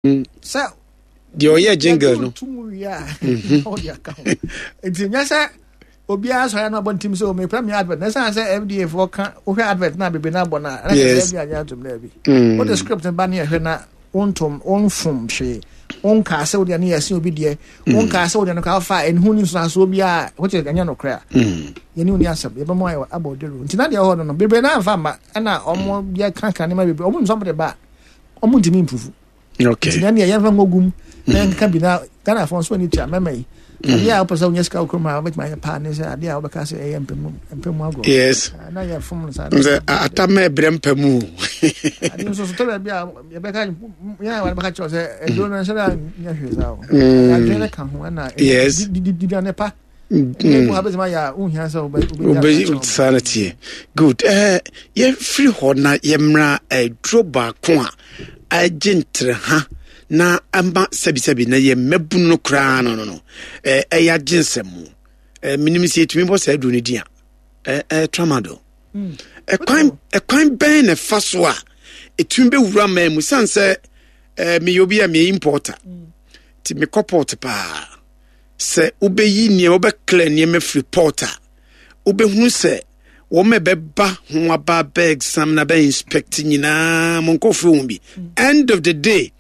Sɛ deɛ ɔyɛ jingle no tum wie a ɔde aka ho nti nyɛ sɛ obiara sɔre no abɔ ntim sɛ mepɛ me advert na ɛsiane sɛ FDA foɔ ka wohwɛ advert no a bebree no abɔ no a ɛna kyerɛ sɛ FDA agye atom no abi wode script no ba ne ɛhwɛ na wontom wonfom hwee wonkaa sɛ wodeɛ no yɛ ɛsen obi deɛ wonkaa sɛ wodeɛ no ka wofa ɛnhu ne nsunasoɔ biara which is ɛnyɛ nokorɛ a yɛne wo ni asɛm yɛbɛmu ayɛ abɔ dawuro nti na deɛ ɛwɔ hɔ no bebree no amfa mma ɛna ɔmo yɛ kankan nneɛma bebree ɔmo nim sɛ ɔmo de ba a ɔmo ntumi mpufu Okay. Nti na nea yɛmfa nkɔ gum na yɛnkeka bi na Ghanafoɔ nso ani tua mɛma yi. Mm. Adeɛ a wopɛ sɛ wonya sika wɔ kurom a wobɛtumi ayɛ paa ne sɛ adeɛ a wobɛka sɛ ɛyɛ mpɛmu mpɛmu agorɔ. Yes. Ah, na yɛfom no saa. Sɛ ata ma ɛbrɛ mpɛmu. Adeɛ nso so tɔ baabi a yɛbɛka yɛn a wɔbɛka kyerɛ sɛ ɛduro no nhyɛ da nyɛ hwee saa o. Mm. Adwene no ka ho ɛna yes. diduane pa. Saa na teɛ. Good. Eh, yɛmfiri hɔ na yɛmmra aduro baako a agye ntereha na ama sɛbisɛbi na yɛ mmabunu no koraa no no no ɛyɛ agye nsɛm mu. Menim sɛ yɛtumi bɔ saa aduro no din a tramadol. Ɛkwan ɛkwan bɛn na ɛfa so a ɛtumi bɛwura man mu sane sɛ meyɛ obi a meyɛ importer nti mekɔ port paa. Sɛ wobɛyi nneɛma, wobɛkla nneɛma firi port a, wobɛhunu sɛ wɔn a ɛbɛba ho aba bɛ exam na bɛ inspect nyinaa mo nkurɔfoɔ ho bi. End of the day,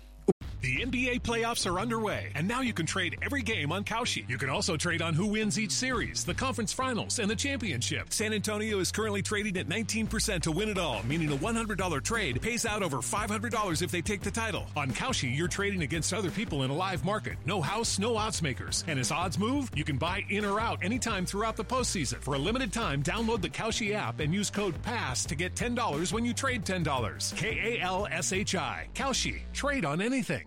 The NBA playoffs are underway, and now you can trade every game on Kalshi. You can also trade on who wins each series, the conference finals, and the championship. San Antonio is currently trading at 19% to win it all, meaning a $100 trade pays out over $500 if they take the title. On Kalshi, you're trading against other people in a live market. No house, no odds makers. And as odds move, you can buy in or out anytime throughout the postseason. For a limited time, download the Kalshi app and use code PASS to get $10 when you trade $10. K A L S H I. Kalshi. Trade on anything.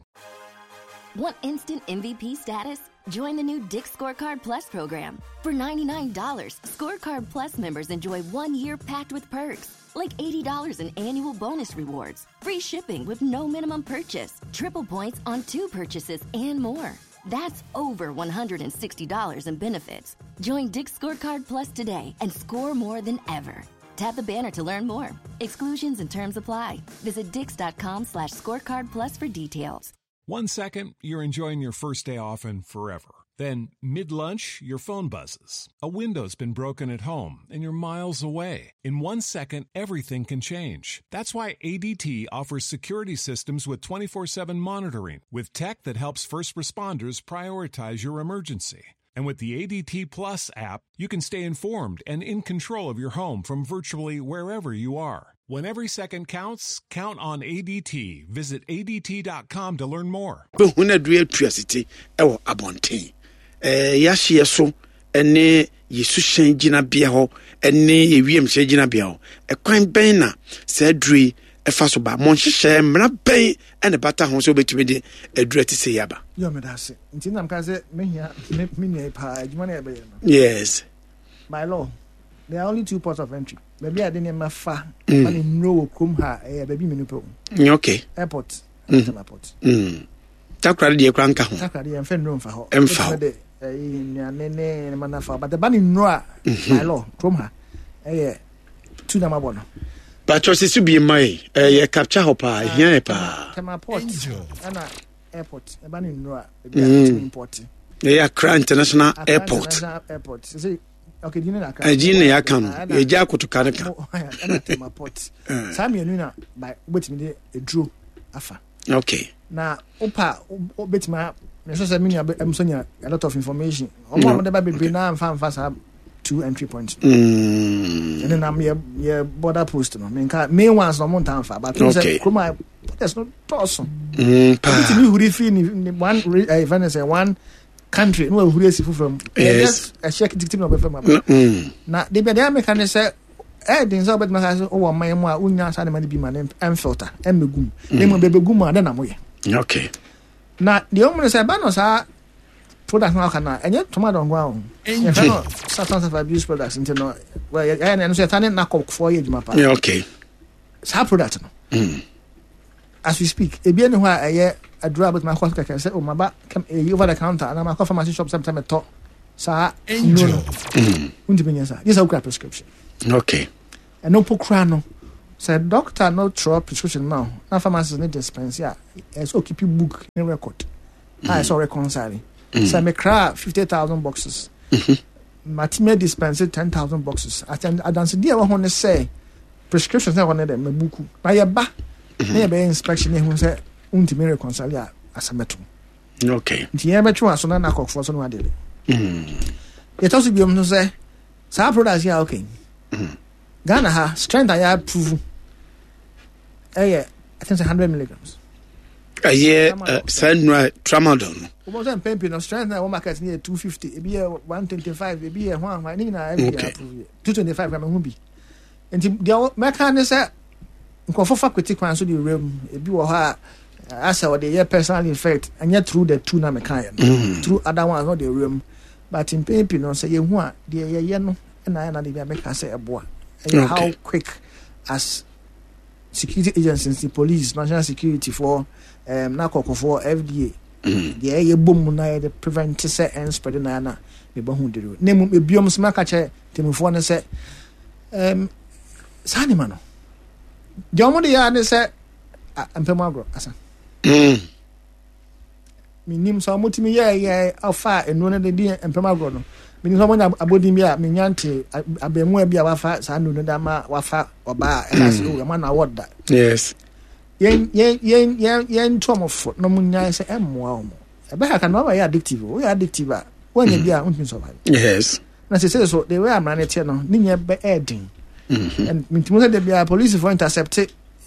Want instant MVP status? Join the new Dick's Scorecard Plus program. For $99, Scorecard Plus members enjoy 1 year packed with perks, like $80 in annual bonus rewards, free shipping with no minimum purchase, triple points on 2 purchases, and more. That's over $160 in benefits. Join Dick's Scorecard Plus today and score more than ever. Tap the banner to learn more. Exclusions and terms apply. Visit dix.com/scorecard plus for details. 1 second, you're enjoying your first day off and forever. Then, mid-lunch, your phone buzzes. A window's been broken at home, and you're miles away. In 1 second, everything can change. That's why ADT offers security systems with 24/7 monitoring, with tech that helps first responders prioritize your emergency. And with the ADT Plus app, you can stay informed and in control of your home from virtually wherever you are. When every second counts, count on ADT. Visit ADT.com to learn more. Bɛhu no aduru atua site wɔ abɔnten. Yɛahyeɛ so ne yɛ suhyɛn gyinabea hɔ ne yɛ wiemhyɛn gyinabea hɔ. Ɛkwan bɛn na saa aduru yi ɛfa so ba? Mo nhyehyɛɛ mmara bɛn na ɛbata ho sɛ wobɛtumi de aduru a ɛte sɛ yi aba? Yɛ meda ase. Nti na meka sɛ mehia me nua yi paa adwuma no yɛbɛyɛ no. Yes. By law, there are only two ports of entry. Baabi a yɛde nneɛma fa ma ne nnuro wɔ kurom ha ɛyɛ baabi mmienu pɛ o. Okay. Airport ɛna Tema port. Takoradi deɛ kora nka ho. Takoradi yɛn fɛ nnuro nfa hɔ. Ɛnfa hɔ. De ɛyi nnuane ne nneɛma nafa but ɛba ne nnuro a by law kurom ha ɛyɛ tu na ma bɔ no. Bàtchɔ sisi bi mma yi ɛyɛ capture hɔ paa ehia yɛ paa. Tema port ɛna airport ɛba ne nnuro a ebi a ɛtumi import. Ɛyɛ Accra International Airport. International Airport. Sisi okay di ne na aka. Ɛgye na yɛaka no yɛgya akotoka no ka. Ɛna Tema port. Saa mmienu na by wobɛtumi de eduro afa. Okay. Na wopa wobɛtumi a mesɛ sɛ me nua nso nya a lot of information. Ɔmo a wɔde ba bebree na nfa nfa saa two entry points. Ɛne nam yɛ yɛ border post no menka main ones na ɔmo nta nfa but okay. sɛ kurom a borders no dɔɔso. Paa. Obi tumi huri firi ne one ɛɛ fɛn sɛ one country na wahuri asi foforɔ mu. Yes. Ɛhyɛ kitikiti na ɔbɛfɛ mu aba. Na debi adeɛ ameka ne sɛ ɛyɛ den sɛ wobɛtumi aka sɛ wowɔ ɔman mu a wonya saa nneɛma no bi ma no ɛmfilter ɛmmɛgu mu. Na mmom bɛbɛgu mu a dɛn na moyɛ? Okay. Na deɛ ɔmu no sɛ ɛba no saa product no aka no a ɛnyɛ tomato nko ara o. Yɛfrɛ no substance of abuse products nti no ɛyɛ no ɛno nso yɛta ne nakɔfoɔ yɛ adwuma paa. Okay. Saa product no. As we speak, ebi ɛni hɔ a ɛyɛ aduro a bɛtumi akɔ so kɛkɛ sɛ o maba eyi over the counter anaa makɔ pharmacy shop sɛ metɔ saa nnuro no. Wontumi nyɛ saa. Gye sɛ wokura prescription. Okay. Ɛno mpo kura no. Sɛ doctor no twerɛ prescription ma wo na pharmacist no dispense a, ɛsɛ sɛ ɔkeep book ne record a ɛsɛ ɔreconcile. Sɛ mekra 50,000 boxes, matumi adispense 10,000 boxes. Adansedie a ɛwɔ ho ne sɛ prescriptions na ɛwɔ no dɛ mabuku. Na yɛba na yɛbɛyɛ inspection na ehu sɛ wontumi reconcile a, asɛm bɛto. Okay. Nti yɛn bɛtwe wɔn aso na nakɔfoɔ so no adele. Yɛtɔ so biom nso sɛ saa products yi a okay. Ghana ha strength a yɛ approve ɛyɛ I think sɛ 100 milligrams. Ɛyɛ saa nnura tramadol no. Wọ́n sɛ mpɛn pii no strength na ɛwɔ market no yɛ 250, ebi yɛ 125, ebi yɛ hwan hwan ne nyinaa FDA approve yɛ 225 kora mehu bi. Nti deɛ mɛka ne sɛ nkurɔfo fa kwati kwan so de wura mu, ebi wɔ hɔ a asɛ ɔde yɛ personal effect, ɛnyɛ through the two na meka yɛ no, through other ones na ɔde wura mu. But mpɛn pii no sɛ yɛhu a deɛ yɛyɛ no ɛna ayɛ na de bi a mɛka sɛ ɛboa. Ɛyɛ how quick as security agencies, the police, national security for na kɔkɔfoɔ, FDA, deɛ ɛyɛ bɔ mu na yɛde prevent sɛ ɛn spread na na mebɔ ho duro. Na mmom ebiom nso maka kyerɛ tɛmufoɔ no sɛ saa nneɛma no deɛ wɔn de yɛ ne sɛ mpɛmu agorɔ asa. Menim sɛ wɔtumi yɛɛyɛ ɔfa nnuro no de di mpɛm agorɔ no. Menim sɛ wɔnya abɔdin bi a menya nte abɛɛmua bi a wafa saa nnuro no de ama wafa ɔbaa a ɛka sɛ oh ɛma na awɔ da. Yes. Yɛn yɛn yɛn yɛn yɛn nto wɔn fo na wɔn nyae sɛ ɛmmoa wɔn. Ɛbɛha ka na wɔn yɛ addictive. Woyɛ addictive a wɔnyɛ bi a wontumi survive. Yes. Na sese so the way amara ne teɛ no ne nyɛ bɛ ɛɛden. And mintimi sɛ de bia polisifoɔ intercept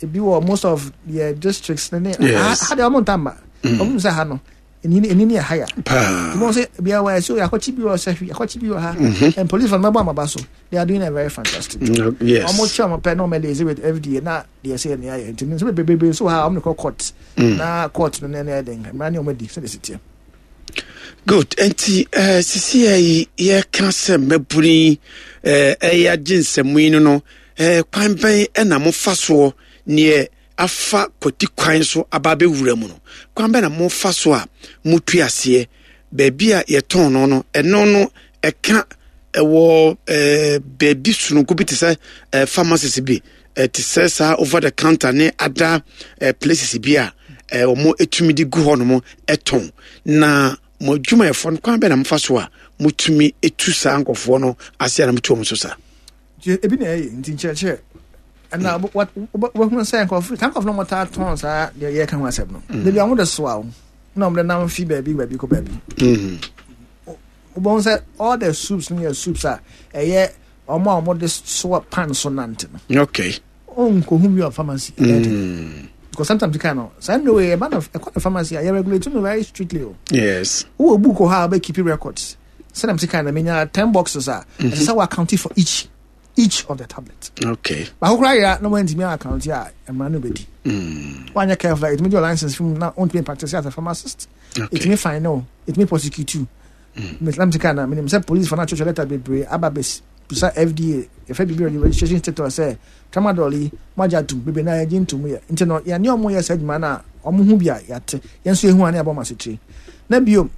ebi wɔ most of yɛ districts ne ne ha deɛ ɔmo nta mma. Ɔmo sɛ ha no eni eni ne yɛ ha ya. Paa. Ɔmo sɛ bia wɔ ɛso akɔkye bi wɔ sɛhwi akɔkye bi wɔ ha. And police fo no mɛbɔ amaba so. They are doing a very fantastic job. Yes. Ɔmo kyɛ ɔmo pɛ na ɔmo lazy with FDA na deɛ ɛsɛ yɛ ne ayɛ nti nso bebrebe nso wɔ ha ɔmo de kɔ court. Na court no ne ne ɛden mmara ne ɔmo adi sɛ de si teɛ. Good. Nti sisi yɛ yi yɛka sɛ mmabunu yi ɛyɛ agye nsɛm yi no no kwan bɛn ɛna mofa soɔ neɛ afa kwati kwan so aba abɛwura mu no, kwan bɛn na mofa so a motu aseɛ baabi a yɛtɔn no no ɛno no ɛka ɛwɔ baabi sononko bi te sɛ pharmacies bi te sɛ saa over the counter ne other places bi a wɔn etumi de gu hɔ nom ɛtɔn na mo adwumayɛfoɔ no kwan bɛn na mofa so a motumi etu saa nkɔfoɔ no ase a na motu wɔn so saa. Ebi na ɛyɛ nti nkyerɛkyerɛ ɛna wobɛhunu sɛ nkurɔfo saa nkurɔfo no wɔtaa tɔn saa deɛ yɛka ho asɛm no dabi a wɔde soa wo na wɔde nam fi baabi baabi kɔ baabi wobɛhu sɛ all the soups no yɛ soups a ɛyɛ wɔn a wɔde soa pan so nante no. Okay. Ɔnkɔhu bi wɔ pharmacy. Because sometimes you can no. Saa nnuro yi ɛba no ɛkɔ no pharmacy a yɛ regulate no very strictly o. Yes. Wowɔ book wɔ hɔ a wobɛ keep records. Sɛdeɛ mese kan no menya 10 boxes a ɛsɛ sɛ wɔ account for each of the tablet. Okay. Baako koraa yera na wantumi account a mmara no bɛdi. Wanyɛ careful a ɛtumi gye license fi mu na wontumi practice as a pharmacist. Okay. Ɛtumi fine no, ɛtumi prosecute you. Meslam sika na menim sɛ police fo no atwetwe letter bebree aba bɛbisa FDA yɛfrɛ biribi registration status sɛ tramadol yi moagye atom bebree na yɛgye ntom yɛ nti no yɛne ɔmo yɛ saa adwuma no a ɔmo ho bi a yɛate yɛn nso yɛhu a ne yɛabɔ ɔmo asetire na bio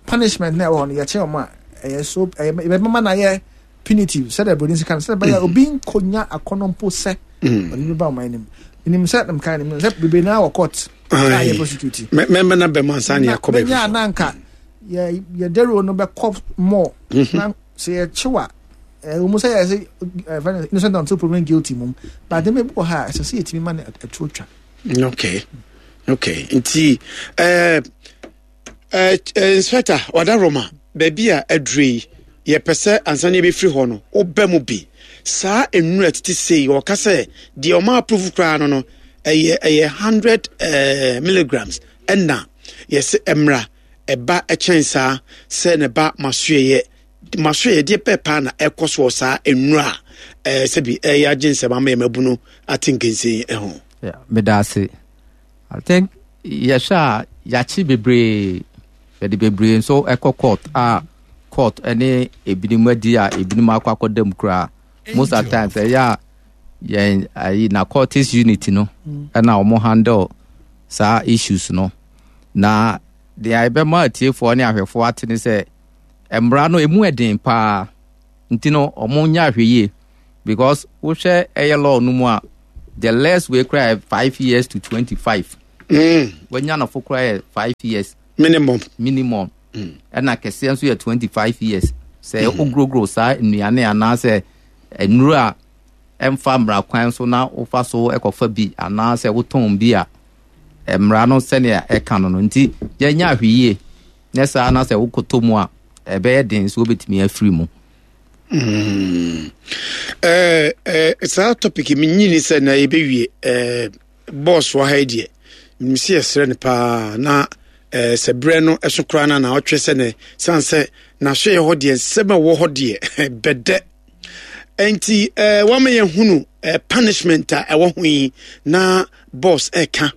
punishment na ɛwɔ hɔ no yɛkyɛ ɔmo a ɛyɛ so ɛyɛ yɛbɛma no ayɛ punitive sɛdeɛ buroni sika no sɛdeɛ ɛbɛyɛ obi nkonya akɔnɔ mpo sɛ ɔde bi ba ɔmo anim menim sɛ mkae no menim sɛ bebree naa wɔ court a yɛ prosecute mɛmɛ na bɛma ansa ne yɛakɔ baabi mɛnya na nka yɛ yɛ dawuro no bɛkɔ more na sɛ yɛkyew a ɛwɔ mu sɛ yɛ sɛ ɛfɛ innocent until proven guilty mum but de bi wɔ ha a ɛsɛ sɛ yɛtumi ma no ɛtuo twa. Okay nti ɛɛ ɛɛ inspector wadaroma baabi a aduro yi yɛpɛ sɛ ansa ne yɛbɛfiri hɔ no wobɛ mu bi saa nnura tete sei wɔka sɛ deɛ ɔma approve koraa no ɛyɛ 100 milligrams ɛna yɛsɛ mmra ɛba kyɛn saa sɛ ne ba masoɛyɛ masoɛyɛ deɛ pɛɛ paa na ɛkɔ soɔ saa nnura a ɛɛ sɛbi ɛyɛ agye nsɛm ama yɛn mabunu ate nkensen ɛho. Meda ase. I think yɛhwɛ a yɛakye bebree, yɛde bebree nso ɛkɔ court a court ɛne ebinom adi a ebinom akɔ akɔda mu koraa. Most of the times ɛyɛ a yɛn ayi narcotics unit no ɛna wɔn handle saa issues no. Na deɛ ɛbɛma atiefoɔ ne ahwɛfoɔ ate ne sɛ mmara no emu ɛden paa nti no wɔn nyɛ ahwɛ yie because wohwɛ ɛyɛ law no mu a. The less wei koraa yɛ 5 years to 25. Wanya no fo koraa yɛ 5 years. Minimum. Minimum. Ɛna kɛseɛ nso yɛ 25 years. Sɛ woguroguro saa nnuane anaasɛ nnuro a ɛmfa mmara kwan so na wofa so ɛkɔfa bi anaasɛ wotɔn bi a, mmara no sɛnea ɛka no, nti yɛnyɛ ahwɛyie. Nyɛ saa na sɛ wokɔtɔ mu a, ɛbɛyɛ den so wobɛtumi afiri mu. Saa topic menyini sɛ na yɛbɛwie. Boss wɔ ha yi deɛ, menim sɛ yɛsrɛ no paa na sɛ berɛ no ɛso koraa no na ɔtwe sɛ ne sane sɛ n'asoɛyɛ hɔ deɛ, nsɛm a ɛwɔ hɔ deɛ bɛdɛ. Nti wama yɛhunu punishment a ɛwɔ ho yi na boss ɛka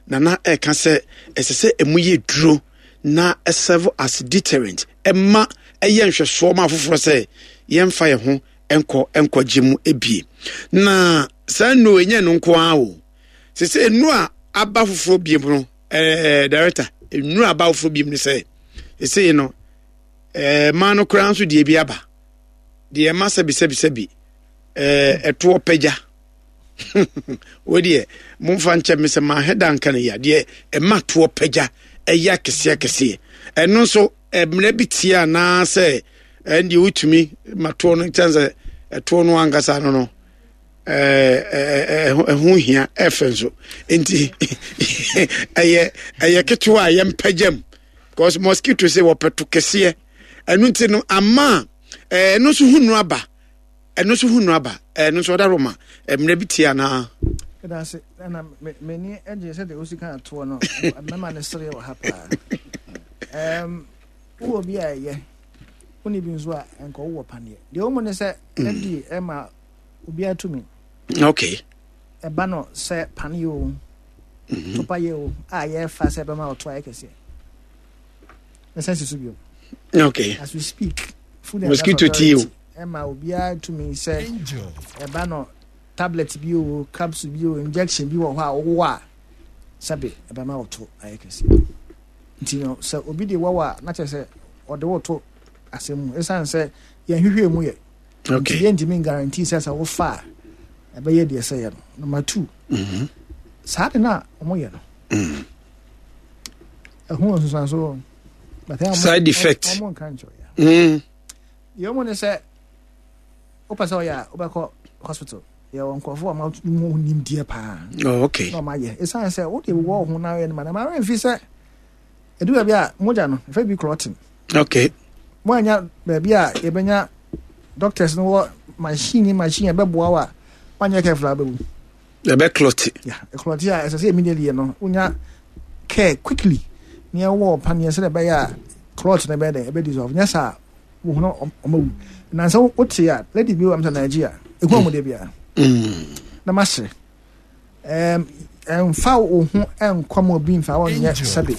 nana ɛka sɛ ɛsɛ sɛ ɛmu yɛ duro na serve as deterrent, ɛma ɛyɛ nhwɛsoɔ ma afoforɔ sɛ yɛmfa yɛn ho nkɔ nkɔgye mu ebie. Na saa nnuro ɛnyɛ no nko ara o, sɛ sɛ nnuro a aba foforɔ biem no, director, nnuro a aba foforɔ biem no sɛ ɛsɛ no mmaa no koraa nso deɛ bi aba deɛ ɛma sɛbi sɛbi sɛbi ɛtoɔ pagya wo deɛ, momfa nkyɛ me sɛ mahɛ da nka no yɛ deɛ ɛma toɔ pagya ɛyɛ akɛseɛ akɛseɛ. Ɛno nso mmerɛ bi tie anaasɛ ɛn deɛ wotumi ma toɔ no kyɛn sɛ ɛtoɔ no ankasa no ɛho hia ɛfɛ nso, nti ɛyɛ ketewa a yɛmpagya mu because mosquito sɛ wɔpɛ to kɛseɛ. Ɛno nti no ama ɛno nso ho nnuro aba, ɛno nso ho nnuro aba, ɛno nso ɔda roma mmerɛ bi tie anaa? Ɛda ase ɛna m'ani agye sɛdeɛ wosi ka atoɔ no mɛma no sere wɔ ha paa. Wowɔ bi a ɛyɛ wone bi nso a ɛnkɔ wowɔ paneɛ deɛ wo mu ne sɛ FDA ɛma obiara tumi. Ɛba no sɛ paneɛ o, topa yɛ o, a yɛfa sɛ ɛbɛma ɔto ayɛ kɛseɛ ɛsɛ si so bio. As we speak, Food and Mosquito Drug tie o. Authority ɛma obiara tumi sɛ ɛba no tablet bi o, capsule bi o, injection bi wɔ hɔ a wowɔ a sɛbe ɛbɛma ɔto ayɛ kɛseɛ. Nti no sɛ obi de wɔwɔ a, na kyerɛ sɛ ɔde woto asɛm mu, ɛsiane sɛ yɛnhwehwɛ mu yɛ nti yɛntumi guarantee sɛ sɛ wofa a ɛbɛyɛ deɛ sɛ yɛ no. Number two, saa de no a ɔmoyɛ no, ɛho nsusuanso. Side effect. Ɔmo nka nkyerɛ yɛ. Deɛ ɔmo ne sɛ wopɛ sɛ ɔyɛ a, wobɛkɔ hospital, yɛwɔ nkurɔfoɔ a ɔmo nimdeɛ paa. Na ɔmo ayɛ, ɛsiane sɛ wode wɔ wo ho na ayɛ no ma na ma remfi sɛ ɛdu baabi a mogya no ɛfɛ bi clotting. Mo anya baabi a yɛbɛnya doctors no wɔ machine ɛbɛboa wo a wanyɛ careful a wobɛwu. Ɛbɛ clot. Yeah, clot a ɛsɛ sɛ immediately no wonya care quickly ne ɛwɔ paneɛ sɛ ɛbɛyɛ a clot no ɛbɛyɛ dɛ ɛbɛ dissolve. Nyɛ saa wo ho ɔma wu. Nansa wote a lady bi wɔ m sɛ Nigeria ɛhu ɔmo de bia na mahyɛ ɛmfa wo ho ɛnkɔ ma obi mfa wɔnyɛ sɛbe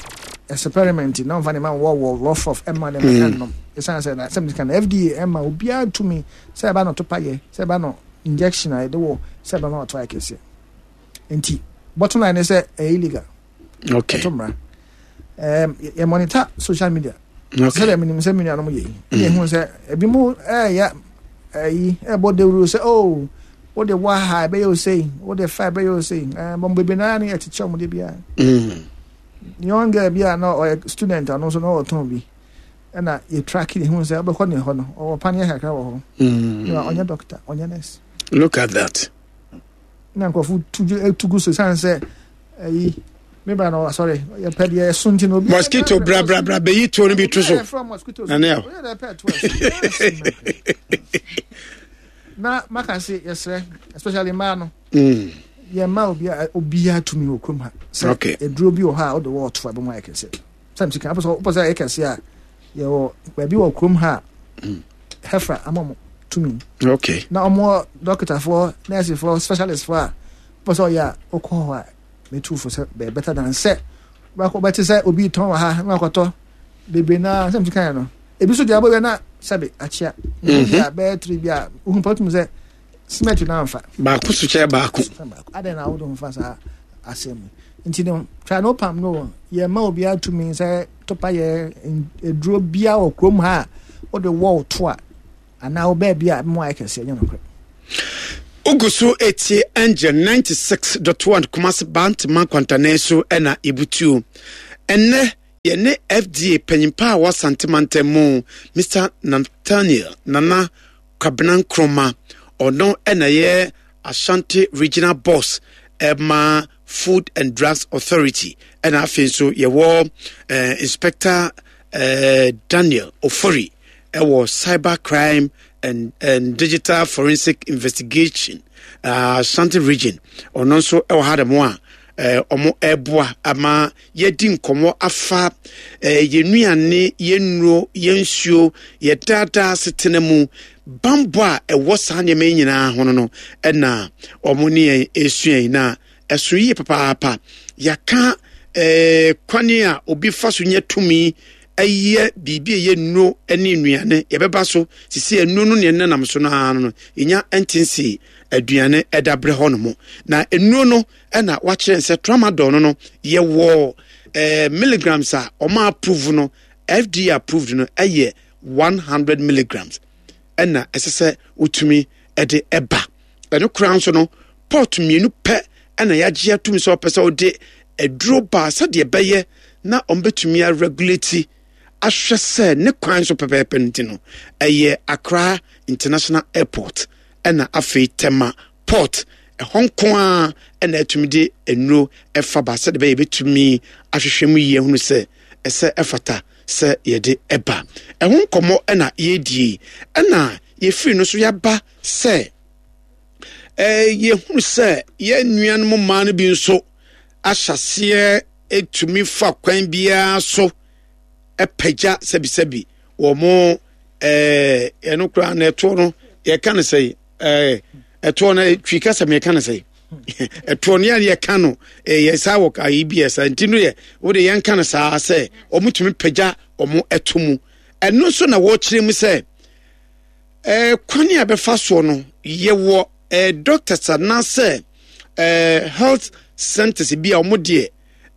experiment na ɔmfa ne ma wɔ wɔ rough rough ɛma ne ma ɛnom, ɛsiane sɛ na sɛm sika na FDA ɛma obiara tumi sɛ ɛba no topa yɛ, sɛ ɛba no injection a yɛde wɔ sɛ ɛbɛma ɔto ayɛ kɛseɛ. Nti bottom line ne sɛ ɛyɛ illegal. Ɛto mmara. Yɛ monitor social media sɛdeɛ menim sɛ me nuanom yɛ yi, ɛna ɛhu sɛ ebi mu ɛyɛ ɛyi ɛbɔ dawuro sɛ oh, wode wɔ ha ɛbɛyɛ o sei, wode fa ɛbɛyɛ o sei. Bɔn bebree naa ne yɛkyekyɛ wɔn de biara. Young girl bi a na ɔyɛ student, ɔno nso na ɔtɔn bi, ɛna yɛ track ne hu sɛ ɔbɛkɔ ne hɔ no, ɔwɔ paneɛ kakra wɔ hɔ. Ɔnyɛ doctor, ɔnyɛ nurse. Look at that. Na nkurɔfo tu gu so san sɛ ɛyi me ba no asɔre yɛpɛ deɛ ɛso nti na obi mosquito bra bra bra bɛyi tuo no bi to so. Nane na maka se yɛsrɛ, especially mmaa no, yɛma obiara obiara tumi wɔ kurom ha sɛ eduro bi wɔ hɔ a wode wɔ ɔto a ɛbɛmu ayɛ kɛseɛ. Sɛ msika wopɛ sɛ ɛyɛ kɛseɛ a, yɛwɔ baabi wɔ kurom ha a HeFRA ama mo tumi. Na ɔmo dɔkitafoɔ, nɛɛsefoɔ, specialistfoɔ a wopɛ sɛ ɔyɛ a wokɔ hɔ a, metu fo sɛ bɛyɛ better than sɛ wobɛte sɛ obi tɔn wɔ ha na wakɔtɔ bebree. Na sɛ msika yɛ no ebi so deɛ abɔwia na sɛbe akyea bi a bɛyɛ tiri bi a wohu pa wotum sɛ cement no amfa. Baako so kyɛ baako. Adɛn na wode ho fa saa asɛm yi? Nti no try no pam no, yɛma obiara tumi sɛ topa yɛ aduro bia wɔ kurom ha a wode wɔ to a anaa wo baabi a mu ayɛ kɛseɛ nyɛ nokorɛ. Wogu so etie Angel 96.1 Kumasi Bantama Nkwantanan so na ebutuo. Ɛnnɛ yɛne FDA panyimpa a wɔ Asante mantam mu, Mr. Nathaniel Nana Kwabena Nkrumah, ɔno na ɛyɛ Ashanti Regional Boss ɛma Food and Drugs Authority, ɛna afei nso yɛwɔ eh, Inspector eh, Daniel Ofori ɛwɔ Cyber Crime and, and Digital Forensic Investigation uh, Ashanti Region, ɔno nso ɛwɔ ha dɛm a wɔn ɛreboa ama yɛadi nkɔmmɔ afa eh, yɛn nnuane, yɛn nnuro, yɛn nsuo, yɛn daadaa asetena mu bambɔ a ɛwɔ saa nneɛma yi nyinaa ho no no ɛna wɔn ne yɛn ɛresua yi na ɛso yie papaapa. Yɛaka eh, kwane a obi fa so nya tumi ɛyɛ biribi a ɛyɛ nnuro ne nnuane yɛbɛba so sisi nnuro no neɛ nenam so no ara no yɛnya ntense aduane ɛda berɛ hɔ no mo na nnuro no ɛna wakyerɛ sɛ tramadol no no yɛwɔ eh, milligrams a ɔma approve no FDA approved no ɛyɛ 100 milligrams ɛna ɛsɛ sɛ wotumi ɛde ɛba ɛno koraa nso no port mmienu pɛ ɛna yɛagye atum sɛ ɔpɛ sɛ wode aduro baa sɛdeɛ ɛbɛyɛ na ɔmbɛtumi aregulate ahwɛ sɛ ne kwan so pɛpɛɛpɛ no nti no ɛyɛ Accra International Airport ɛna afei Tema Port, ɛhɔ nko ara na atumi de nnuro ɛfa ba sɛdeɛ ɛbɛyɛ yɛbɛtumi ahwehwɛ mu yie ahunu sɛ ɛsɛ ɛfata sɛ yɛde ɛba. Ɛho nkɔmmɔ ɛna yɛredie ɛna yɛfiri no so yɛaba sɛ ɛɛ yɛhunu sɛ yɛn nuanom mmaa no bi nso ahyɛseɛ ɛtumi fa kwan biara so ɛpagya sɛbisɛbi wɔn ɛɛ ɛno koraa na ɛtoɔ no yɛka no sɛ ɛɛ ɛtoɔ no twi kasa mi yɛka no sɛ ɛtoɔ no yɛn yɛka no ɛyɛ saa wɔ ayi bi yɛ saa nti no yɛ wɔde yɛn ka no saa sɛ wɔn tumi pagya wɔn ɛto mu ɛno nso na wɔrekyerɛ mu sɛ ɛɛ kwan a bɛfa soɔ no yɛwɔ ɛɛ doctors anaasɛ ɛɛ health centers bi a wɔn deɛ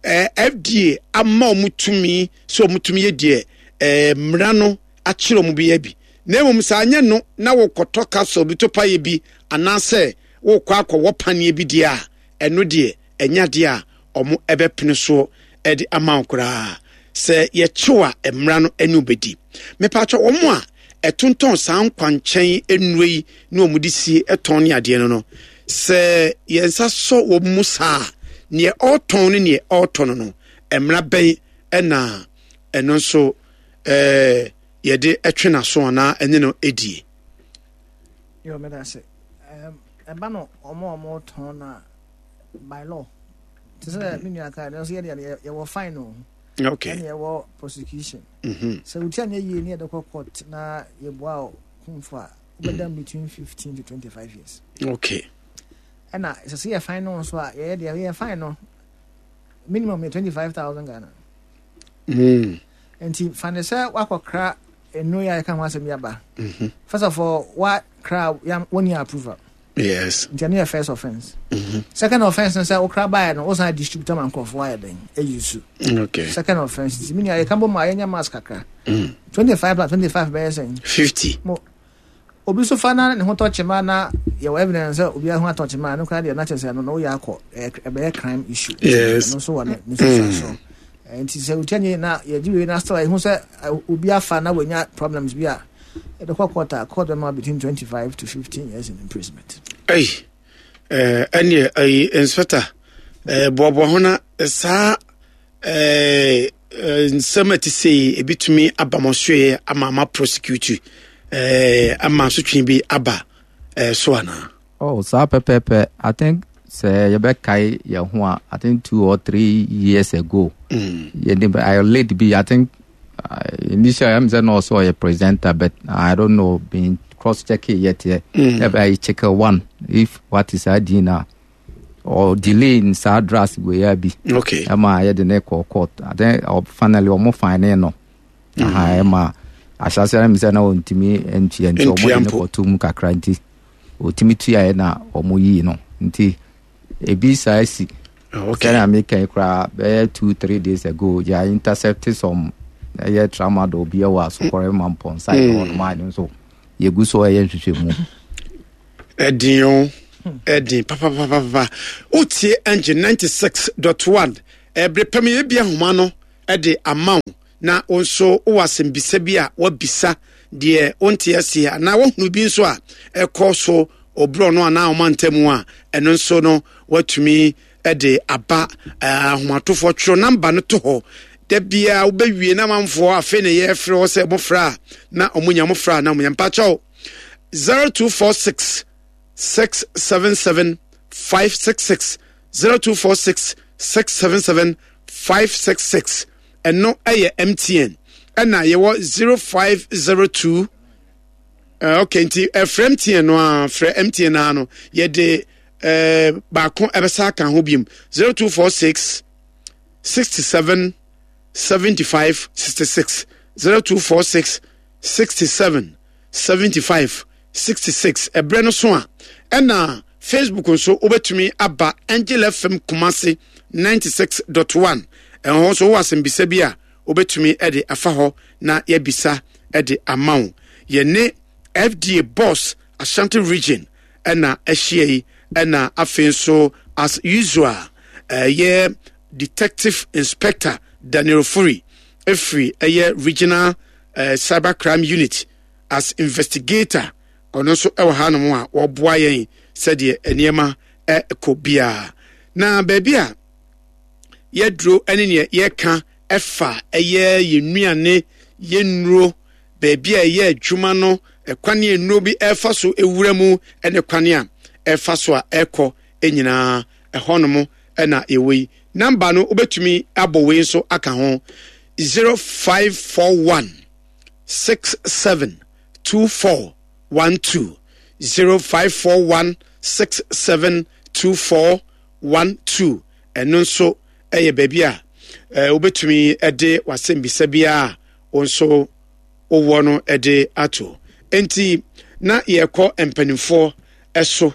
ɛɛ FDA ama wɔn tumi sɛ wɔn tumi yɛ deɛ ɛɛ mmara no akyerɛ wɔn bi yɛ bi na mmom sɛ anyɛ no na wokɔtɔ capsule bi to paeɛ bi anaasɛ wokɔ akɔwɔ paneɛ bi deɛ a, ɛno deɛ ɛnyɛ adeɛ a wɔn ɛbɛpene soɔ de ama wo koraa. Sɛ yɛkyew a mmara no ɛne wobɛdi. Mepatwɔ wɔn a ɛtontɔn saa nkwankyɛn nnuro yi ne wɔn de sie tɔn ne adeɛ no no, sɛ yɛn nsa sɔ wɔn mu saa a, neɛ ɔretɔn ne neɛ ɔretɔ no no, mmara bɛn ɛna ɛno nso ɛɛ yɛde twe n'aso anaa ɛne no die. Yɛ ɔmɛda ase. Ɛba no ɔmo a ɔmo tɔn na by law. Te sɛ me nua kaa no nso yɛde yɛwɔ fine o. Okay. Ɛna yɛwɔ prosecution. Mm-hmm. Sɛ wotia nyɛ yie ne yɛde kɔ court na yɛboa o kumfo a wobɛda between 15 to 25 years. Okay. Ɛna sɛ sɛ yɛ fine no nso a yɛyɛ deɛ yɛ fine no minimum yɛ 25,000 Ghana. Mm. Nti fa no sɛ woakɔkra nnuro yi a yɛka ho asɛm yi aba. Mhm. First of all, woakra wonni approval. Yes. Nti ɛno yɛ first offence. Mhm. Second offence no sɛ wokra baeɛ no wosan distribute ama nkurɔfoɔ ayɛ dɛn ayi su. Okay. Second offence nti menua yɛka bɔ mu a yɛnyɛ mask kakra. 25 plus 25 bɛyɛ sɛn? 50. Mo Obi nso fa na ne ho tɔ kyema na yɛwɔ evidence sɛ obi ho atɔ kyema no koraa deɛ na kyerɛ sɛ ɛno no woyɛ akɔ ɛbɛyɛ crime issue. Yes. Ɛno nso wɔ ne ne nsusuansoɔ. Mm. Nti sɛ wotia nye na yɛgye wei na still ɛho sɛ obi afa na wanya problems bi a ɛde kɔ court a court bɛma between 25 to 15 years in imprisonment. Ɛyi ɛneɛ ɛyi inspector boaboa ho na saa Eh, eh, nsɛm a ɛte sei ebitumi aba mo soɛ ama ama prosecute eh, ama asotwe bi aba eh, so anaa? Oh, saa pɛpɛɛpɛ. I think sɛ yɛbɛkae yɛn ho a, I think 2 or 3 years ago, yɛde I late bi, I think initially I'm saying also a presenter, but I don't know, been cross checking yet. Yeah. I check one if what is ID now. Or delay in saa drugs wei a bi. Okay. Ɛma yɛde ne kɔ court. Then finally ɔmo fine no. Aha, ɛma ahyɛaseɛ no mi sɛ na ɔntumi ntua nti ɔmo de ne kɔto mu kakra nti ɔtumi tuaeɛ na ɔmo yii no nti ebi saa si. Okay. Sɛnea meka yi koraa bɛyɛ 2-3 days ago yɛ intercept some ɛyɛ tramadol bi ɛwɔ Asokɔrɛ Mampɔn side hɔ nom a ɛno nso yɛgu so ɛyɛ nhwehwɛmu. Ɛdin o. Ɛden papapapapa. Wotie Engine 96.1 ɛbere pɛm yɛbi ahoma no de ama wo na wo nso wowɔ asɛmbisa bi a woabisa deɛ wonte aseɛ anaa woahunu bi nso a ɛkɔ so ɔborɔ no anaa ɔma ntamu a ɛno nso no woatumi de aba. Ahomatofoɔ twerɛ namba no to hɔ da biara wobɛwie na amanfoɔ afei na yɛfrɛ hɔ sɛ mofrɛ a na ɔmo mofrɛ a na ɔmo nya. Mpakyɛw, 0246 677 566, 0246 677 566, ɛno ɛyɛ MTN. Ɛna yɛwɔ 0502. Ok, nti ɛfrɛ MTN no a, frɛ MTN a no yɛde baako ɛbɛsa aka ho biom, 0246 67 75 66, 0246 67 75 66. Ɛberɛ no so a ɛna Facebook nso wobɛtumi aba Angel FM Kumase 96.1. Ɛhɔ nso wowɔ asɛmbisa bi a wobɛtumi de afa hɔ na yɛabisa de ama wo. Yɛne FDA boss Ashanti Region ɛna ahyia yi, ɛna afei nso as usual ɛyɛ Detective Inspector Daniel Furi ɛfiri ɛyɛ Regional Cyber Crime Unit as investigator, ɔno nso ɛwɔ hanom a wɔboa yɛn sɛdeɛ nneɛma ɛkɔ biara. Na baabi a yɛduro ne neɛ yɛka ɛfa ɛyɛ yɛn nnuane, yɛn nnuro, baabi a ɛyɛ adwuma no, ɛkwan a nnuro bi ɛfa so ewura mu ɛne kwan a ɛfa so a ɛkɔ nyinaa, ɛhɔnom ɛna yɛwɔ yi. Namba no wobɛtumi abɔ wei nso aka ho, 0541 67 24 12, 0541 67 24 12. Ɛno nso ɛyɛ baabi a wobɛtumi de w'asɛmbisa biara a wo nso wowɔ no de ato. Enti na yɛkɔ mpanimfoɔ so.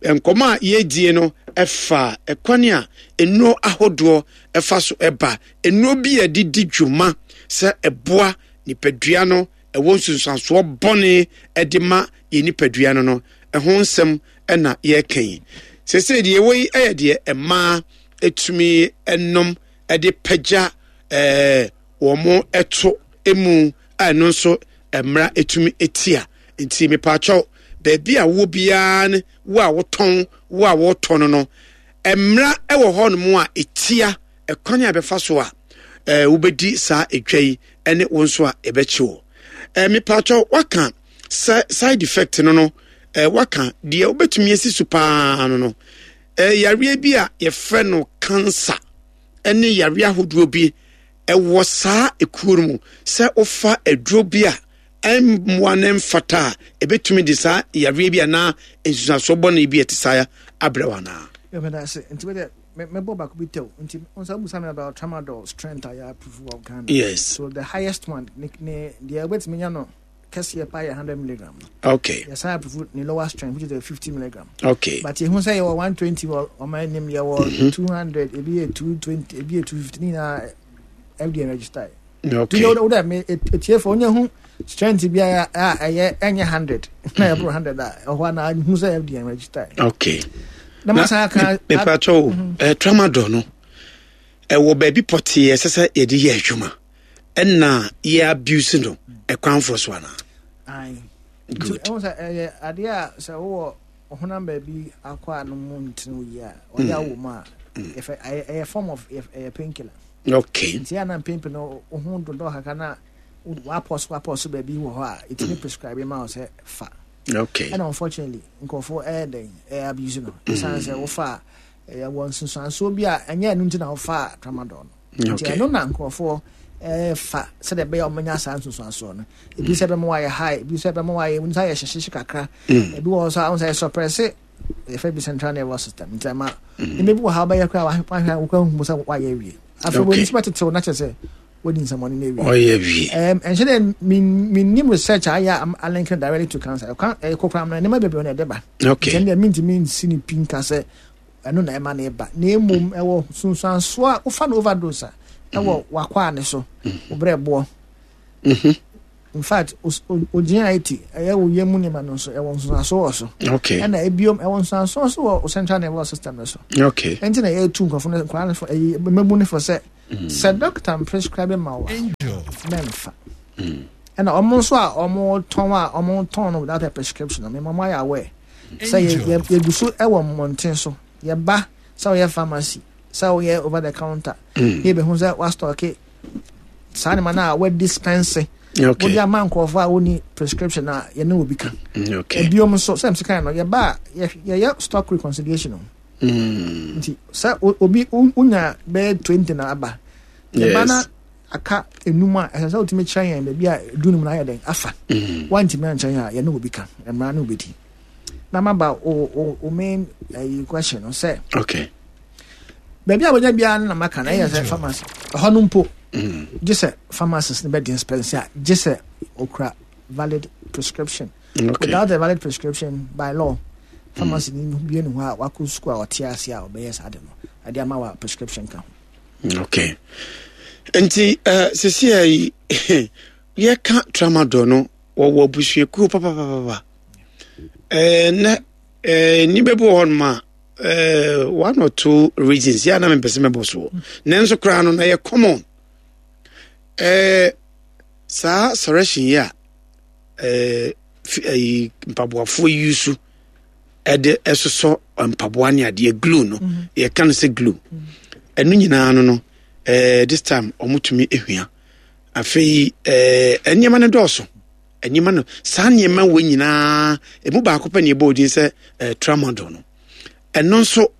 Nkɔmmɔ a yɛredie no ɛfa ɛkwan a nnuro ahodoɔ ɛfa so ɛba, nnuro bi a yɛde di dwuma sɛ ɛboa nipadua no, ɛwɔ nsunsuansoɔ bɔne ɛde ma yɛn nipadua no, ɛho nsɛm ɛna yɛreka yi. Seesei deɛ ɛwɔ yi ɛyɛ deɛ mmaa ɛtumi ɛnom ɛde pagya wɔn ɛto emu a ɛno nso mmara ɛtumi ɛtia. Nti mepaakyɛw, baabi a wowɔ biara ne wo a wotɔn, wo a wɔtɔ no, mmara ɛwɔ hɔnom a ɛtia ɛkwan a ɛbɛfa so a wobɛdi saa edwa yi ɛne wo nso a ɛbɛkye wo. Mepaakyɛw, waka sɛ side effect no, waka deɛ wobɛtumi asi so paa no, yareɛ bi a yɛfrɛ no cancer ɛne yareɛ ahodoɔ bi ɛwɔ saa ekuo no mu, sɛ wofa aduro bi a ɛmmoa ne mfata a, ɛbɛtumi de saa yareɛ bi anaa nsusuasoɔ bɔne bi a ɛte saa abrɛ wo anaa? Yɛbɛda ase. Nti wede mɛbɔ baako bi tɛw. Nti nsa busa me about tramadol strength a yɛ approve wɔ Ghana. Yes. So the highest one ne deɛ wobɛtumi nya no kɛseɛ pa yɛ 100 milligram. Yɛsan approve ne lower strength, which is the 50 milligram. But yɛhu sɛ yɛwɔ 120 wɔ ɔman anim, yɛwɔ 200, ebi yɛ 220, ebi yɛ 250, ne nyinaa FDA register. Nti wo dɛ me etiefo onye hu strength bi a ɛyɛ ɛnyɛ 100 na ɛboro 100 a ɛhɔ ana hu sɛ FDA register. Na ma san aka mepatɔ tramadol no ɛwɔ baabi pɔtee ɛsɛ sɛ yɛde yɛ adwuma ɛna yɛ abuse no ɛkwan fo so anaa? Aye. Good. Ɛwɔ sɛ ɛyɛ adeɛ a sɛ wowɔ ɔhonam baabi akɔ a no mu ntene wo yie a ɔyɛ awɔ mu a yɛfɛ ɛyɛ form of ɛyɛ painkiller. Nti a na mpempe no wo ho dodɔ kakra na wapɔ so wapɔ so baabi wɔ hɔ a ɛtumi prescribe ma wo sɛ fa. Ɛna unfortunately nkurɔfoɔ ɛyɛ dɛn ɛyɛ abuse no. Ɛsiane sɛ wofa a ɛyɛ wɔ nsunsuansoɔ bi a ɛnyɛ ɛno nti na wofa tramadol no. Nti ɛno na nkurɔfoɔ ɛfa sɛdeɛ ɛbɛyɛ ɔmo nya saa nsunsuansoɔ no. Ebi sɛ ɛbɛma wayɛ high, ebi sɛ ɛbɛma wayɛ wɔn nsa yɛ hyehyehye kakra. Ebi wɔ hɔ nso a wɔn nsa yɛ suppress yɛfrɛ bi central nervous system. Nti ɛma nneɛma bi wɔ ha wobɛyɛ koraa wahwɛ a wokura hu sɛ wayɛ awie. Afei wɔn nso bɛtetew na kyerɛ sɛ wɔdi nsɛmɔne no awie. Ɔyɛ wie. Ɛnhyɛ dɛ mennim research a ayɛ a link directly to cancer. Ɛkwan ɛyɛ kokoram no nneɛma bebree na ɛde ba. Nti ɛno deɛ mentumi nsi ne pi nka sɛ ɛno na ɛma no ba. Na mmom ɛwɔ sunsuansoɔ a wofa no overdose a ɛwɔ w'akwaa ne so, wo berɛboɔ. In fact, o GIT, ɛyɛ wo yam nneɛma no nso, ɛwɔ nsonsoanso wɔ so. Okay. Ɛna ebiom, ɛwɔ nsonsoanso nso wɔ o central nervous system no so. Okay. Ɛnti na yɛtu nkurɔfo no, nkwadaa no fo, ɛyi, mmabu no fo sɛ, sɛ doctor prescribe ma wo a, mɛmfa. Ɛna wɔn nso a wɔtɔn a wɔtɔn no without a prescription no, mema wɔn ayɛ aware sɛ yɛ yɛ yɛgu so wɔ mmɔnten so, yɛba sɛ woyɛ pharmacy, sɛ woyɛ over the counter, na yɛbɛhu sɛ woastɔke saa nneɛma no a wɔadispense wode ama nkurɔfoɔ a wɔnni prescription a yɛne obi ka. Ebiom nso sɛ msi kan no yɛba a yɛyɛ stock reconciliation o. Nti sɛ obi wonya bɛyɛ 20 na aba yɛba na aka enum a ɛsɛ sɛ wotumi kyerɛ yɛn baabi a du num no ayɛ dɛn afa. Woantumi ankyerɛ yɛn a yɛne obi ka mmara ne obɛdi. Na maba o o main ɛyi question no sɛ. Okay. Baabi a wɔnya biara no na maka na ɛyɛ sɛ pharmacy ɛhɔ no mpo gye sɛ pharmacist no bɛ dispense a gye sɛ okura valid prescription. Okay. Without a valid prescription by law pharmacy ni bie ne hɔ a wakɔ sukuu a ɔte ase a ɔbɛyɛ saa de no ɛde ama wa prescription ka ho. Okay. Nti uh, sisi a yi yɛka tramadol no wɔwɔ abusuakuo papapapa. Ɛɛ nɛ ɛɛ nnipa bi wɔ hɔnom a ɛɛ one or two reasons yɛ a na mepɛ sɛ mɛbɔ soɔ nanso koraa no na yɛ common ɛɛ saa sɔrɛhyen yi a ɛɛ ɛyi mpaboafoɔ yi so ɛde ɛsosɔ mpaboa ne adeɛ glue no mm-hmm. yɛka no sɛ glue ɛno nyinaa no no ɛɛ this time wɔtumi ehwia afei ɛɛ nneɛma no dɔɔso. Nneɛma no, saa nneɛma wɔ nyinaa, emu baako pɛ na ɛbɔ odin sɛ eh, tramadol no. Ɛno nso,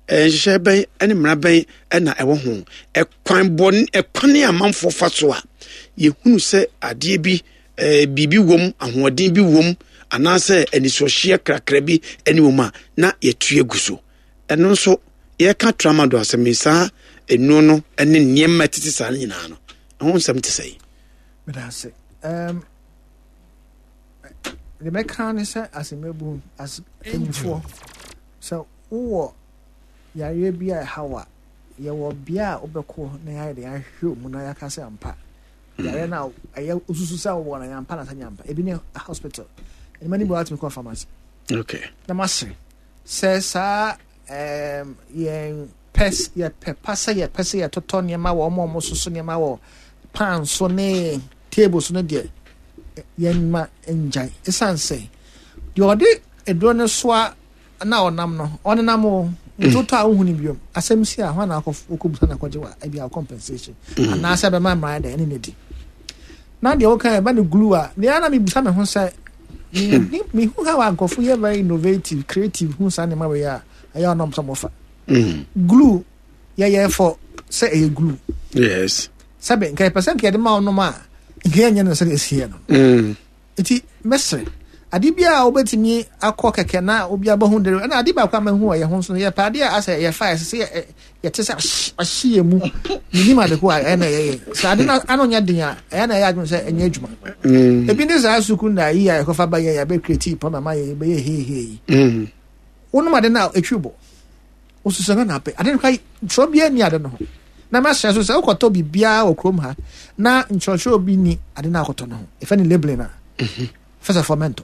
eh, nhyehyɛ bɛn ne mmara bɛn na ɛwɔ ho? Ɛkwan bɔ ɛkwan a amanfoɔ fa so a yɛhunu sɛ adeɛ bi eh, biribi wom, ahoɔden bi wom, anaasɛ anisoɔhyeɛ krakra bi ne wom a na yɛtu agu so. Ɛno nso, yɛka tramadol asɛm yi, saa nnuro no ne nneɛma ɛtete saa no nyinaa no, ɛho nsɛm te sɛ yi. Meda ase. Um, deɛ mɛka ne sɛ asɛmmabu as mpanimfoɔ sɛ wowɔ yareɛ bi a ɛha wo a yɛwɔ bea a wobɛkɔ na yɛayɛ de ahwehwɛ mu na yɛaka sɛ ampa yareɛ no a ɛyɛ wosusu sɛ wowɔ no yɛampa na sɛ nyɛ ampa ebi ne hospital ɛnima no bi watumi kɔ pharmacy okay. na masere sɛ saa um, yɛn pɛ yɛpɛ pa sɛ yɛpɛ sɛ yɛtotɔ nneɛma wɔ wɔn a wɔsoso nneɛma wɔ pan so ne table so no deɛ yɛn ma ngyae ɛsiane sɛ deɛ ɔde aduro no soa na ɔnam no ɔnenam o nti wotɔ a wohu no biom asɛm si a hwan na wokɔbusa na akɔgye wa ebi a compensation mm. anaasɛ bɛma mmara dɛ ɛne ne di na deɛ woka ɛba no glue a deɛ na mebusa me ho sɛ mehu how a nkurɔfo yɛ very innovative creative hu saa nneɛma wei a ɛyɛ ɔnam sɛ mofa mm. glue yɛyɛ fɔ sɛ ɛyɛ glue yes sɛbe nka yɛpɛ sɛ nka yɛde ma ɔnom a nka yɛnyɛ no sɛdeɛ ɛsiɛ no mm. nti mɛsrɛ ade bi a wobɛtumi akɔ kɛkɛ na obi abɛhu dere ɛna ade baako a mahu wɔ yɛ ho nso no yɛpɛ ade a asɛ yɛfa ɛsɛ sɛ yɛte sɛ ahye yɛ mu menim ade ko a ɛyɛ na ɛyɛ sɛ ade no ano nyɛ den a ɛyɛ na ɛyɛ adwene sɛ ɛnyɛ adwuma mm. ebi ne saa sukuu na yi a yɛkɔfa ba yɛ yɛbɛ create pɔ mama yɛ yɛbɛyɛ heihei yi mm. Wonom ade no a, ɛtwi bo. Wosusu no na apɛ. Ade no kora, twerɛ biara nni ade no ho. Na mahyɛ so sɛ wokɔtɔ biribiara wɔ kurom ha na nkyerɛkyerɛ bi ni ade no akɔtɔ no ho. Ɛfɛ ne labeling a. Mhm. First of all, mɛntɔ.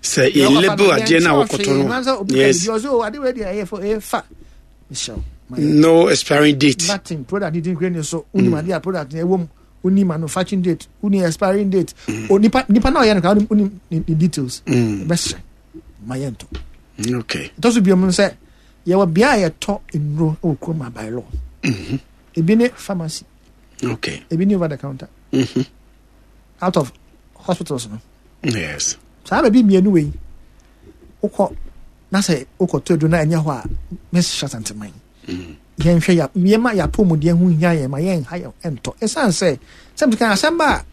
Sɛ yɛ label adeɛ no a wokɔtɔ no. Yes. Ɔsɛ o ade wei deɛ ɛyɛ fo ɛyɛ fa. No expiring date. Nothing. Product ni din kure ni so. Wonim mm. adeɛ a product na ɛwɔ mu. Woni manufacturing date. Woni expiring date. Mm. O nipa nipa na ɔyɛ no kora woni ne details. Mm. Bɛsrɛ ma yɛ ntɔ. Okay. Ɛtɔ so biom sɛ yɛwɔ bea a yɛtɔ nnuro wɔ kurom a by law. Mm-hmm. Ebi ne pharmacy. Okay. Ebi ne over the counter. Mm-hmm. Out of hospitals no. Yes. Saa baabi mmienu wei wokɔ na sɛ wokɔtɔ aduro na ɛnyɛ hɔ a mɛhyɛ santeman. Mm. Yɛnhwɛ ya yɛma yɛapɔmuden ho hia yɛn ma yɛnha yɛn ntɔ. Ɛsiane sɛ sɛ meka asɛm ba a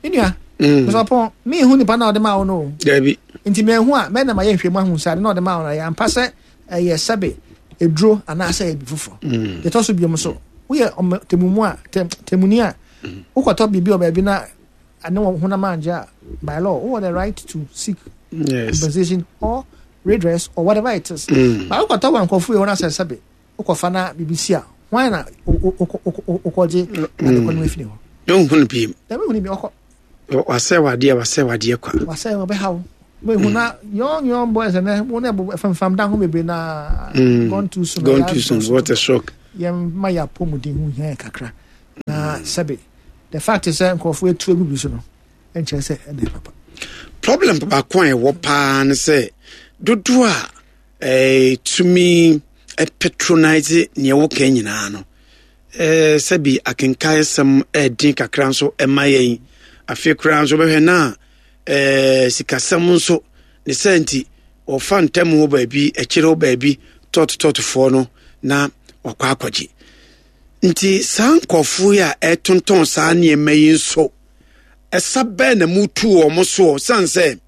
me nua mm. mesɔpɔn mehu nipa na ɔde ma wo no o. Dabi. Nti mehu a mɛna ma yɛnhwɛ mu ahu sɛ ade na ɔde ma wo no ɛyɛ ampa sɛ ɛyɛ sɛbe eduro anaasɛ ɛyɛ bi foforɔ. Mm. Yɛtɔ so biom so woyɛ temumu a temuni a mm. wokɔtɔ biribi wɔ baabi na ne wɔn honam angye a by law wowɔ the right to seek yes. compensation or redress or whatever it is. Mm. But wokɔtɔ wɔ nkurɔfo yi hɔ na sɛ sɛbe wokɔfa na biribi si a hwan na wokɔgye adekɔ no afiri hɔ. Yɛnhu no biem. Dabi hu no bi ɔkɔ. Wasɛe wadeɛ wasɛe wadeɛ kwa. Wasɛe ɔbɛha wo. Mehu na young young boys ɛnɛ wɔn na ɛbɔ fɛnfam dan ho bebree na mm. gone too soon. Gone too soon what a shock. Yɛn ma yɛ apɔmuden ho hia yɛ kakra na sɛbi the fact is sɛ nkurɔfoɔ etu egu bi so no nkyerɛ sɛ ɛna papa. Problem baako a ɛwɔ paa ne sɛ dodoɔ a ɛtumi eh, patronise nea ɛwɔ kan nyinaa no eh, sɛbi akenkaesɛm ɛɛden kakra nso ɛma yɛn afei koraa nso bɛhwɛ na eh, sikasɛm nso ne sɛ nti wɔfa ntam hɔ baabi akyire hɔ baabi tɔɔtotɔɔtofoɔ no na wakɔ akɔgye nti saa nkurɔfoɔ yi a ɛtontɔn saa nneɛma yi nso ɛsa bɛɛ na mutu wɔn soɔ sane sɛ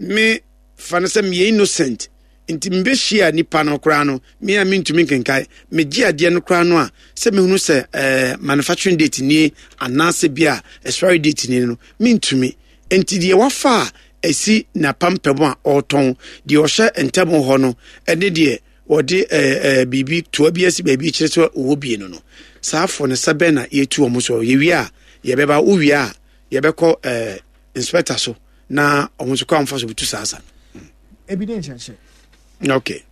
me fa no sɛ meyɛ innocent Nti mebɛhyia nipa no koraa no, me a mentumi nkenkae, megye adeɛ no koraa no a, sɛ mehunu sɛ eh, manufacturing date nie anaasɛ bi a expiry date nie no, mentumi. Nti deɛ wafa a ɛsi n'apampam a ɔretɔn, deɛ ɔhyɛ ntam hɔ no, ɛne deɛ wɔde eh, eh, biribi toa bi asi baabi kyerɛ sɛ ɔwɔ bie no no, saa afɔ no sɛ bɛn na yɛtu wɔn so. Yɛwie a, yɛbɛba, wowie a, yɛbɛkɔ eh, inspector so na ɔmo nso kɔ amfa so bɛtu saa sa no. Ebi ne nkyerɛkyerɛ. Okay.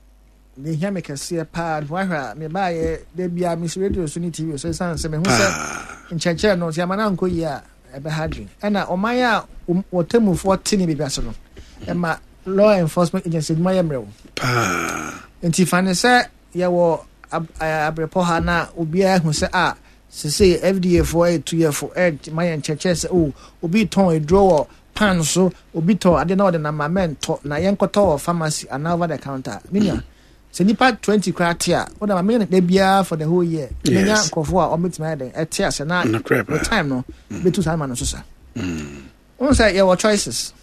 Ne hia me kɛseɛ paa no ahwɛ a mebaayɛ da bia mesi radio so ne tv so ɛsiane sɛ mehu sɛ nkyerɛkyerɛ no sɛ ama no ankɔ yie a ɛbɛha adwene ɛna ɔman a wɔtamufoɔ te ne biribi ase no ɛma law enforcement agency adwuma yɛ mmerɛw paa. Nti fa ne sɛ yɛwɔ abrepɔ ha na obiara hu sɛ a sesei FDA foɔ ɛretu yɛ fo ɛrema yɛn nkyerɛkyerɛ sɛ oh obi tɔn aduro wɔ pan so, obi tɔ ade na ɔde nam a mɛntɔ na yɛnkɔtɔ wɔ pharmacy anaa over the counter. Me nua, sɛ nipa 20 koraa te a, wode ma meyɛ no da biara for the whole year. Menya nkurɔfoɔ a wɔbɛtumi ayɛ dɛn ɛte ase na with time no bɛtu saa ma no so sa. Wohu sɛ yɛwɔ choices.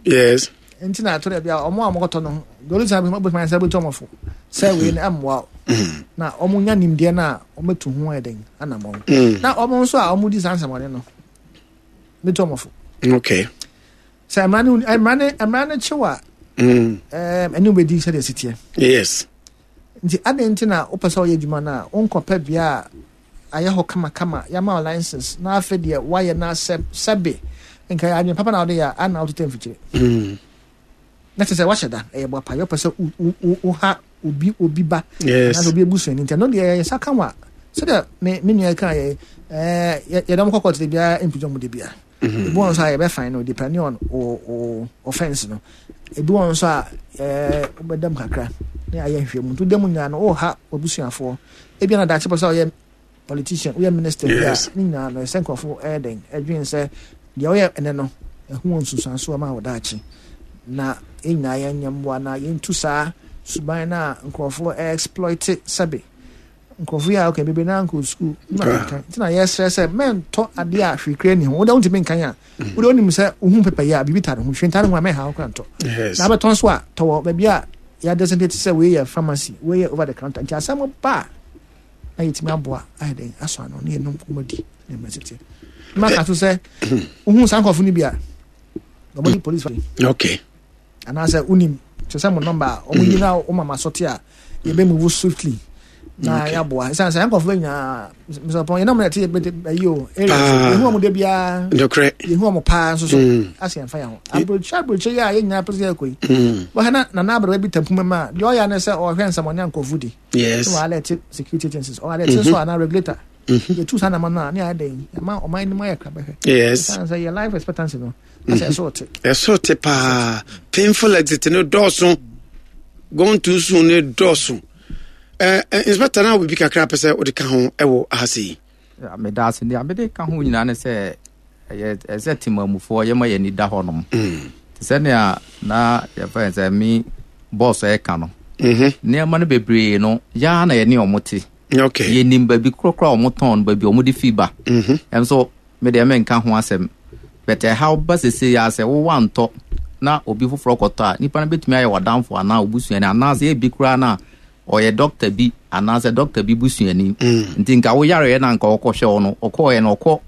Yes. Nti na ato da bi a ɔmo a ɔmo kɔtɔ no the only time ɔmo bɛtumi ayɛ sɛ ɔbɛtu ɔmo fo sɛ wei no ɛmmoa wo. Mm. Na ɔmo nya nimdeɛ no a ɔmo bɛtu ho ayɛ dɛn anammɔn. Mm. Na ɔmo nso a ɔmo di saa nsɛmɔne no bɛtu ɔmo fo. Okay. Sɛ mmara no mmara no mmara no kyew a mm. ɛɛ ɛne wobɛdi sɛdeɛ ɛsi teɛ. Yes. Nti adɛn nti na wopɛ sɛ ɔyɛ adwuma no a wonkɔpɛ bea a ayɛ hɔ kamakama, yɛama wo license na afei deɛ woayɛ no asɛ sɛbe nka yɛ adwene papa na wode yɛ a na wotete mfikyire. Mm. Na kyerɛ sɛ wahyɛ da ɛyɛ boapa yɛ wopɛ sɛ woha obi obi ba anaasɛ obi abusuani nti ɛno deɛ yɛ nsa ka wa sɛdeɛ me me nua ka yɛ ɛɛ yɛde wɔn kɔkɔ tete biara mpigya wɔn de biara. Mm-hmm. Ebi wɔn nso a yɛbɛfan no depending on o o offence no. Ebi wɔn nso a ɛɛ wobɛdam kakra na ayɛ nhwehwɛmu nti wodam nyinaa no woha w'abusuafoɔ. Ebi na daakye pɛ sɛ ɔyɛ politician woyɛ minister bi a ne nyinaa no ɛsɛ nkurɔfo ɛyɛ dɛn ɛdwen sɛ deɛ ɔyɛ ɛnɛ no ɛho wɔ nsunsuansoɔ ma wɔ daakye na yɛn nyinaa yɛnyɛ mmoa na yɛntu saa suban no a nkurɔfoɔ exploit sɛbe nkurɔfo yi a okay bebree naa nkɔ sukuu ne ma kankan nti na yɛsrɛ sɛ mɛntɔ adeɛ a hwee kura ni ho wode wontumi nkan a wode wonim sɛ wohu pɛpɛ yɛ a biribi tare ho hwee ntare ho a mɛha wo kora ntɔ na abɛtɔn so a tɔwɔ baabi a yɛadesignate sɛ wei yɛ pharmacy wei yɛ over the counter nti asɛm ba a na yɛtumi aboa ayɛ dɛn asɔ ano ne yɛnom kɔmɔdi ne mmerɛ tete ma ka so sɛ wohu saa nkurɔfo no bi a wɔde police okay anaasɛ wonim kyerɛ sɛ mo nɔmba a wɔn yi na wɔn mama sɔte a yɛbɛ move swiftly na yɛaboa ɛsiane sɛ nkɔfoɔ nyinaa mesɔpɔn yɛn na wɔn ɛte yɛbɛ ayi o area yɛhu wɔn de biara yɛhu wɔn paa nso so mm. asɛ yɛn fa yɛn ho aburokyɛ aburokyɛ yi a yɛn nyinaa pɛ sɛ yɛkɔ yi mm. wɔhɛ na nana aberewa bi tampuma mu a deɛ ɔyɛ ne sɛ ɔhwɛ nsɛmɔne nkɔfo di yes wɔ alert security agencies ɔwɔ alert nso ana regulator mm-hmm. yɛtu saa nama no a ne ayɛ dɛn yɛma ɔman no mu ayɛ krabɛhwɛ yes ɛsiane sɛ yɛ life expectancy no asɛ ɛso te ɛso te paa painful exit no dɔɔso gone too soon no dɔɔso eh, eh, inspector na wɔ biribi kakra pɛ sɛ wode ka ho ɛwɔ ha sɛ yi meda ase nea mede ka ho nyinaa ne sɛ ɛyɛ ɛsɛ temamufoɔ yɛma yɛn ani da hɔnom mm. te sɛ nea na yɛfrɛ sɛ me bɔs ɛka no mm-hmm. nneɛma no bebree no yɛa na yɛne ɔmo te okay. yɛnim baabi korɔkorɔ a ɔmo tɔn no baabi ɔmo de fi ba mm-hmm. ɛnso Me deɛ menka ho asɛm. But ɛhaw ba sesei ara sɛ wo woantɔ na obi foforɔ kɔtɔ a, nipa no bɛtumi ayɛ w'adamfo anaa wo busuani anaasɛ ebi koraa no a ɔyɛ dɔkta bi anaasɛ dɔkta bi busuani. Nti nka wo yareɛ no a nka ɔkɔhwɛ wo no, ɔkɔɔɛ no ɔkɔ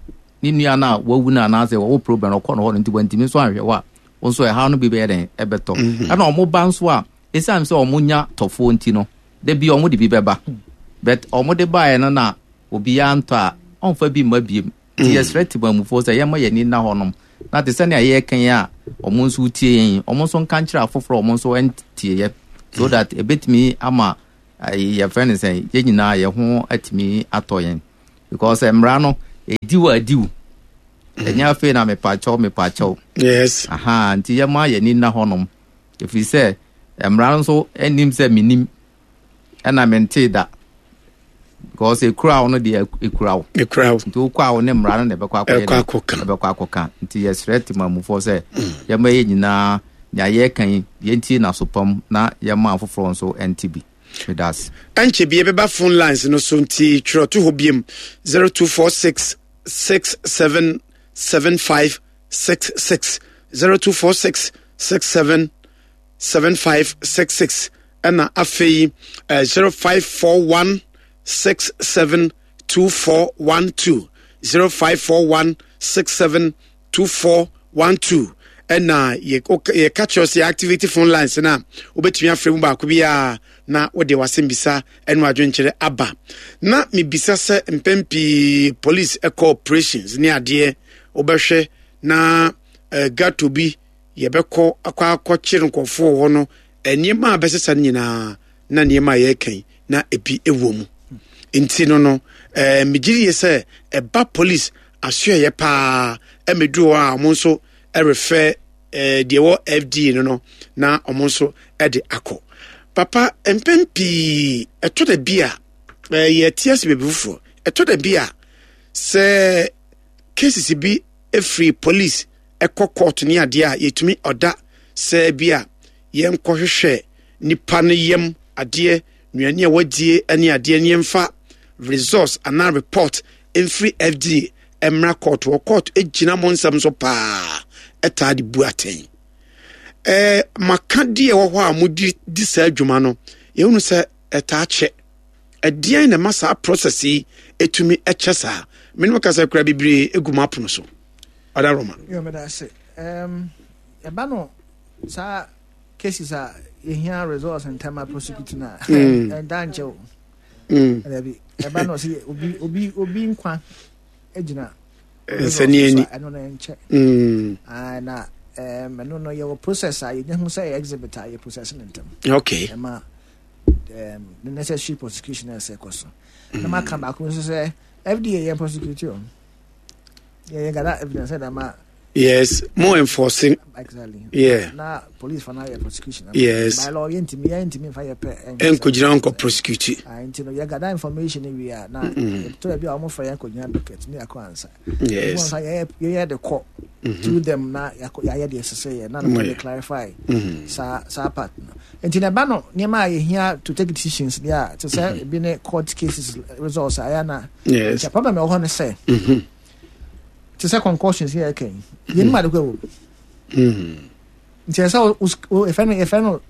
ne nua no a wawu no anaasɛ ɔwɔ problem no ɔkɔ no hɔ no nti wantumi nso anhwɛ wo a, wo nso ɛhaw no bi bɛyɛ dɛn ɛbɛtɔ. Ɛna ɔmo ba nso a, ɛsiane sɛ ɔmo nya tɔfoɔ nti no, da bi ɔmo de bi bɛba. But ɔmo de baeɛ no na obiara ntɔ a, ɔmfa bi mma biem. Nti yɛsrɛ temanmufoɔ sɛ yɛmma yɛn ani nna hɔnom na te sɛnea yɛreka yi a wɔn nso tie yɛn yi, wɔn nso nka nkyerɛ afoforɔ a wɔn nso ntieɛ so that ɛbɛtumi ama yɛfrɛ no sɛ yɛn nyinaa yɛn ho atumi atɔ yɛn because mmara no ɛdi wo adi wo ɛnyɛ afei na mepakyɛw mepakyɛw. Yes. Aha nti yɛma yɛn ani nna hɔnom ɛfiri sɛ mmara no nso anim sɛ menim ɛna mentee da because ekura wo no deɛ ekura wo. Ekura wo. Nti wokɔ a wo ne mmara no na ɛbɛkɔ akɔyɛ ɛkɔ akɔka. Ɛbɛkɔ akɔka. Nti yɛsrɛ temamufoɔ sɛ yɛma yɛ nyinaa nea yɛreka yi yɛntie n'asopam na yɛma afoforɔ nso nte bi. Meda ase. Ɛnkyɛ bi yɛbɛba phone lines no so nti twerɛ to hɔ biom 0246 67 75 66 0246 67 7566 ɛna afei 0541 67 2412 0541 67 2412 ɛna yɛka kyerɛ sɛ activate phone lines no a wobɛtumi afrɛ mu baako biara na wode wasɛm bisa ɛno adwenkyerɛ aba na mebisa sɛ mpɛn pii police ɛkɔ operations ne adeɛ wobɛhwɛ na uh, gato bi yɛbɛkɔ akɔ akɔkyere nkurɔfoɔ wɔ hɔ no, nneɛma a bɛsesa no nyinaa na nneɛma a yɛreka yi na ebi wɔ mu. Nti no no, ɛɛ megye die sɛ ɛba police asoɛyɛ paa ɛmɛduru hɔ a wɔn nso ɛrefɛ ɛɛ deɛ ɛwɔ FDA no no na wɔn nso ɛde akɔ. Papa mpɛn pii ɛtɔ da bi a ɛɛ yɛte ase baabi foforɔ ɛtɔ da bi a sɛ cases bi efiri police ɛkɔ court ne adeɛ a yɛtumi ɔda sɛ bi a yɛnkɔhwehwɛ nipa no yam adeɛ nnuane a wadie ne adeɛ ne yɛmfa results anaa report mfiri FDA mmra court wɔ court gyina mo nsɛm so paa ɛtaa de bu atɛn ɛɛ maka deɛ ɛwɔ hɔ a modi di saa adwuma no yɛhunu sɛ ɛtaa kyɛ ɛdeɛn na ɛma saa process yi ɛtumi ɛkyɛ saa menom kasa kura bebree egu mo apono so Ɔda Roma. Yo, meda ase. Um, ɛba no saa cases a yɛhia results ntɛm a prosecute no a mm. ɛnda nkyɛ o. Mm. Dabi, ɛba no sɛ obi obi obi nkwa gyina nsɛnni ani. Ɛno no ɛnkyɛ. Mm. Ah, na ɛno no yɛwɔ process a yɛnya hu sɛ yɛ exhibit a yɛ process no ntɛm. Okay. Ɛma um, the necessary prosecution ɛsɛ kɔ so. Na maka baako nso sɛ FDA yɛ prosecute o. Yeah, yeah, that evidence said I'm Yes, more enforcing. Exactly. Yeah. Na police for now yeah prosecution. Yes. By law, yɛntumi yɛntumi nfa yɛ pɛ. Nkɔgyina nkɔ prosecute. Ah, nti no yɛ gather information we are na. To bi a wɔn fɛ yɛn kɔgyina docket ne akɔ ansa. Yes. Wɔn nsa yɛ yɛ de kɔ. To them na yɛayɛ deɛ ɛsɛ sɛ yɛ na no de clarify. Saa saa part no. Nti na ɛba no nneɛma a yɛhia to take decisions deɛ a te sɛ ebi ne court cases results a ɛyɛ na. Yes. Nti problem ɛwɔ hɔ ne sɛ. Te sɛ concussions yɛ ɛka yi. Yɛn mu ade kɔ ɛwɔ mu. Nti ɛsɛ wo yɛfɛ no yɛfɛ no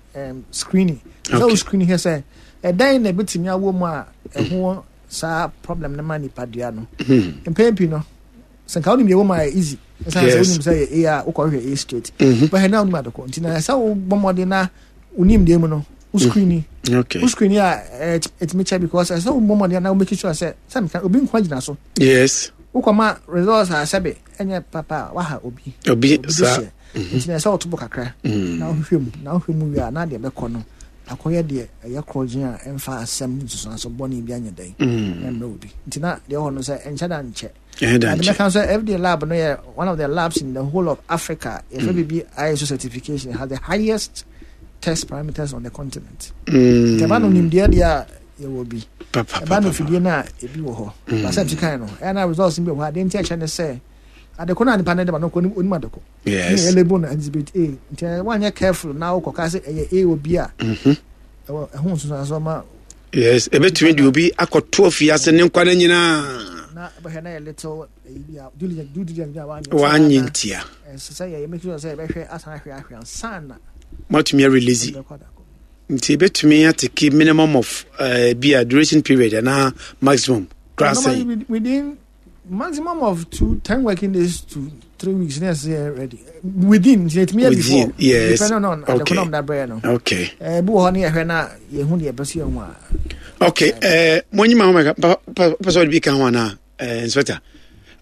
screening. Ɛsɛ wo screening hwɛ sɛ ɛdɛn na ebetumi awɔ mu a ɛho saa problem no ma nipadua no. Mpɛn pii no sɛ nka wonim deɛ ɛwɔ mu a easy. Ɛsɛ sɛ wonim sɛ yɛ A a wokɔhwɛ A straight. Bɛhɛ na wonim ade kɔ. Nti na ɛsɛ wo bɔ mmɔden na wonim deɛ mu no wo screening. Okay. Wo screening a ɛtumi kyɛ because ɛsɛ wo bɔ mmɔden na wo make sure sɛ sɛ meka obi nkwa gyina so. Yes. Wokɔma results a sɛbe ɛnyɛ papa a waha obi. Obi saa. Nti na ɛsɛ woto bo kakra na wohwehwɛ mu na wohwɛ mu wie a na deɛ bɛkɔ no akɔyɛ deɛ ɛyɛ korɔgyen a ɛmfa asɛm nsusuanso bɔne bi anyɛ dɛn ɛmmerɛ obi. Nti na deɛ ɛwɔ no sɛ ɛnkyɛ da nkyɛ. Ɛnkyɛ da nkyɛ. Mɛka sɛ FDA lab no yɛ one of the labs in the whole of Africa. Yɛfrɛ biribi ISO certification has the highest test parameters on the continent. Nti ɛba no nimdeɛ deɛ a yɛwɔ bi. Ɛba no fidie no a ebi wɔ hɔ. Basɛ ti kan no ɛyɛ na results bi wɔ hɔ adeɛ nti ɛkyɛ ne sɛ adeko no a nipa no de ma no kɔ onim adeko. Yes. Ɛyɛ label no exhibit A nti wanyɛ careful na wokɔ ka sɛ ɛyɛ A wɔ bi a. Ɛwɔ ɛho nsunsuansoɔ ma. Yes, ebetumi de obi akɔto afiase ne nkwa no nyinaa. Na bɛhwɛ na yɛ little ɛyi bi a due diligence bi a wanyɛ. Wanyɛ ntia. Ɛsɛ sɛ yɛ make sure sɛ yɛbɛhwɛ asan ahwɛ ahwɛ ansa na. Moatumi arelease. Nti ebetumi atake minimum of uh, bi a duration period anaa maximum koraa sɛn. Within maximum of 2, 10 working days to 3 weeks na ɛsɛ yɛ ready within nti etumi yɛ before. Yes. Depending on okay. adekunam da brɛ no. Okay. Ɛɛ bi wɔ hɔ ne yɛhwɛ na yɛhu deɛ ɛpɛ so yɛhu a. Okay ɛɛ mo anyi ma ho mɛka papa papa sɛ ɔde bi ka ho anaa ɛɛ inspector.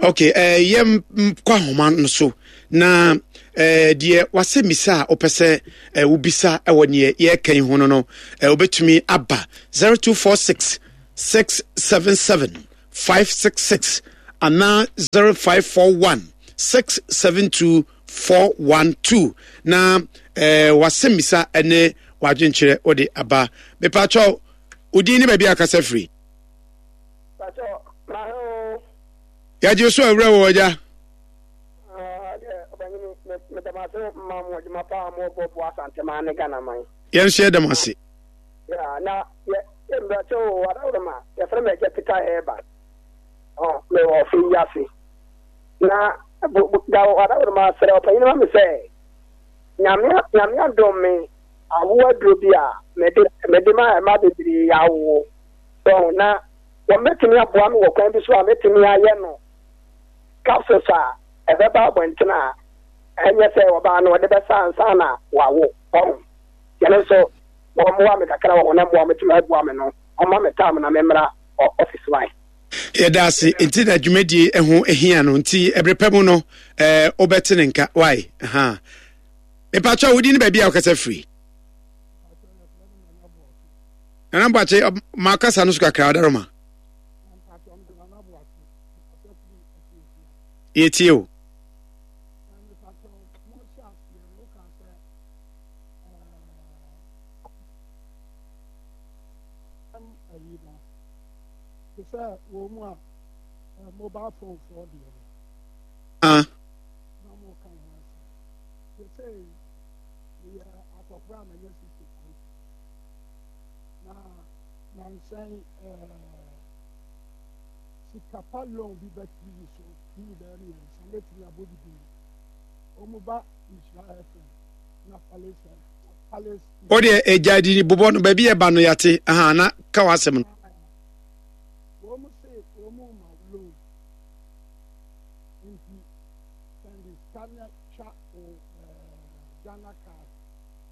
Okay, eh, yɛn kɔ ahoma no so na eh, deɛ wasɛ misa a wopɛ sɛ eh, wobisa wɔ neɛ yɛreka yi ho no no eh, wobɛtumi aba 0246 677 566 anaa 0541 672 412 na eh, wasɛ misa ne wadwenkyerɛ wode aba. Mepaakyɛw, wodin ne baabi a akasa firi? Yɛgye so awura wɔ agya. Yɛn nso yɛda mo ase. Na mbrɛkyɛ o adaworoma yɛfrɛ me agya Peter Herba mewɔ ɔfe yi ase na da adaworoma srɛ ɔpanyin ma me sɛ nyame nyame adom me awo aduro bi a mede mede ma ɛma bebree awo so na Wɔbɛtumi aboa me wɔ kwan bi so a mɛtumi ayɛ no capsules a ɛbɛba abɔnten a ɛnyɛ sɛ ɔbaa no ɔde bɛsa ansa na wawo. Ɔho. Yɛno nso wɔmmoa me kakra wɔ honam mu a wɔbɛtumi aboa me no, wɔmma me time na memmra office wae. Yɛda ase nti na dwumadie ho hia no nti ɛbere pɛ mu no ɛɛ wobɛte ne nka wae ha. Mepatwa wodi ne baabi a wokasa firi. Nana Boakye, ma kasa no so kakra ɔdaroma. Yɛtie o. Ah. Na nansa yi ɛɛ sika pa loan bi ba tv so tv bɛyɛ mmiɛnsa mɛtumi abɔ bi din wɔn ba nhyira fm na palace palace. O deɛ ɛgya di bobɔ no baabi ɛba no yate aha na ka w'asɛm no. Wɔn se wɔn ma loan nti sɛnde sika na twa o ɛɛ Ghana card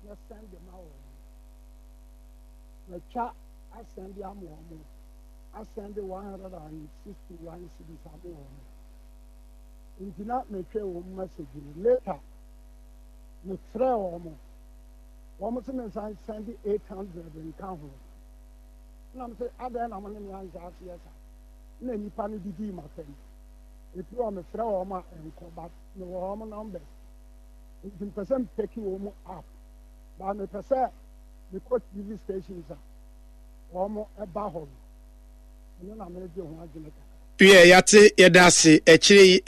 na sɛnde ma wɔn. Matwa asɛnde ama wɔn, asɛnde 161 cedis ama wɔn. Nti na metwɛn wɔn message no. Later, mefrɛɛ wɔn. Wɔn se mensan sɛnde 800 nka ho. Na me se adɛn na mo ne me anhyɛ aseɛ saa? Na nnipa no didii m'atɛm. Ɛfiri hɔ mefrɛ wɔn a ɛnkɔ but mewɔ wɔn numbers. Nti mepɛ sɛ mpɛki wɔn app. But mepɛ sɛ mekɔ TV stations a wɔn ba hɔ no, ɛno na meregye ho adwene kakra. Wiɛ, yɛate, yɛda ase. Akyire yi.